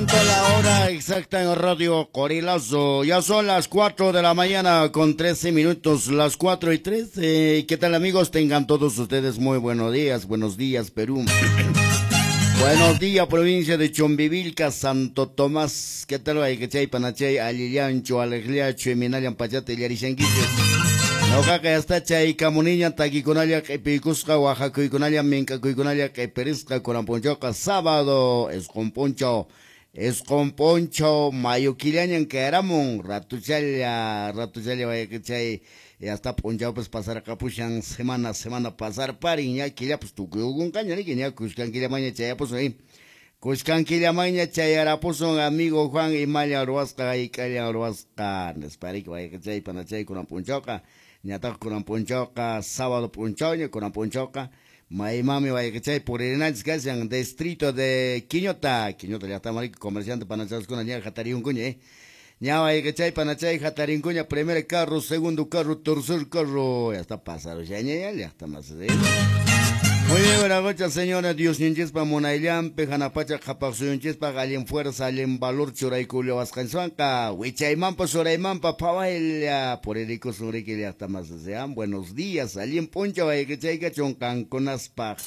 Momento, la hora exacta en Radio Corilazo. Ya son las 4 de la mañana con 13 minutos, las 4:13. ¿Qué tal, amigos? Tengan todos ustedes muy buenos días. Buenos días, Perú. Buenos días, provincia de Chumbivilca, Santo Tomás. ¿Qué tal? Wayqichay, panachay, allillanchu, aleqllachu, imaynallan pachata illarishankichis. Ñuqaqa yasta chay kamuniña takikunalla q'ipiykusqa, waqakuykunalla, mink'akuykunalla q'ipirisqa kunan p'unchawqa sábado, 9 p'unchaw, 9 p'unchaw mayo killañan kayaramun, ratuchalla, ratuchalla wayqichay, hasta p'unchawpas pasarqapushan, semana, semana pasarparin, ña killapas tukuyukunqaña, riki, ña kuskan killamaña chayapusun, kuskan killamaña chayarapusun, amigo Juan, imalla ruwasqa, hayk'alla ruwasqa, nispa riki wayqichay, panachay, kunan p'unchawqa, ñataq kunan p'unchawqa sábado p'unchawña, kunan p'unchawqa maymami wayqichay puririnanchis kashan distrito de Quiñota, Quiñota llaqtaman riki comerciante panachaskuna ña hatariyunkuña, ña wayqichay panachay hatarinkuña, primer carro, segundo carro, tercer carro, ya está pasarushaña ya llaqtamas. Muy bien, buenas noches, señora. Diosninchispa munayllanpi, hanaq pacha qhapaq suyunchispaq allin fuerza, allin valor churaykullawasqanchikwanqa, wichaymanpas uraymanpas phawaylla puririkusun riki llaqtamas. Sean buenos días, allin p'unchaw wayqichay kachun qankunaspaq.